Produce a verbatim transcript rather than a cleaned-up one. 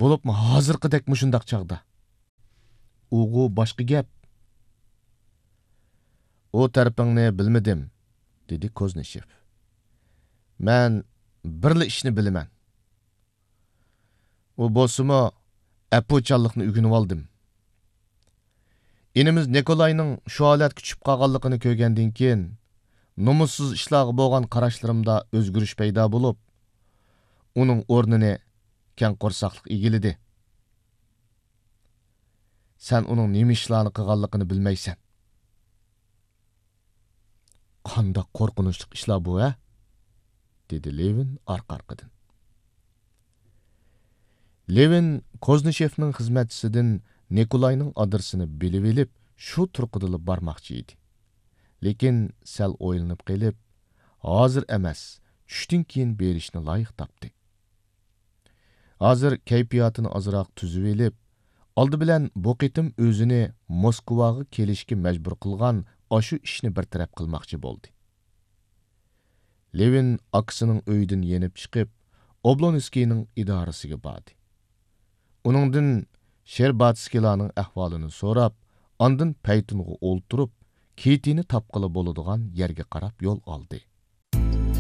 بولۇپمۇ ھازىرقىدەك مۇشۇنداق چاغدا. ئۇغۇ باشقا گەپ. ئۇ تەرىپىڭنى بىلمىدىم، دېدى كوزنىشېف. مەن بىرلا ئىشنى بىلىمەن. ئۇ بولسىمۇ ئەپۇچانلىقنى ئۆگىنىۋالدىم. ئىنىمىز نىكولاينىڭ شۇ ھالەتكە چۈشۈپ قالغانلىقىنى كۆرگەندىن كېيىن، نومۇسسىز ئىشلارغا بولغان قاراشلىرىمدا ئۆزگىرىش پەيدا بولۇپ، ئۇنىڭ ئورنىنى كەڭ قورساقلىق ئىگىلىدى. سەن ئۇنىڭ نېمە ئىشلارنى قىلغانلىقىنى بىلمەيسەن. قانداق قورقۇنچلۇق ئىشلار بۇ، ھە؟ دېدى لېۋىن ئارقا-ئارقىدىن. لېۋىن كوزنىشېفنىڭ خىزمەتچىسىدىن نىكولاينىڭ ئادرېسىنى بىلىۋېلىپ، شۇ تۇرقىدىلا بارماقچى ئىدى. لېكىن سەل ئويلىنىپ قېلىپ، ھازىر ئەمەس، چۈشتىن كېيىن بېرىشنى لايىق تاپتى. ھازىر كەيپىياتىنى ئازراق تۈزۈۋېلىپ، ئالدى بىلەن بۇ قېتىم ئۆزىنى موسكۋاغا كېلىشكە مەجبۇر قىلغان ئاشۇ ئىشنى بىر تەرەپ قىلماقچى بولدى. لېۋىن ئاكىسىنىڭ ئۆيىدىن يېنىپ چىقىپ، ئوبلونسكىينىڭ ئىدارىسىگە باردى. ئۇنىڭدىن شېرباتسكىلارنىڭ ئەھۋالىنى سوراپ، ئاندىن پەيتۇنغا ئولتۇرۇپ، كىتىنى تاپقىلى بولىدىغان يەرگە قاراپ يول ئالدى.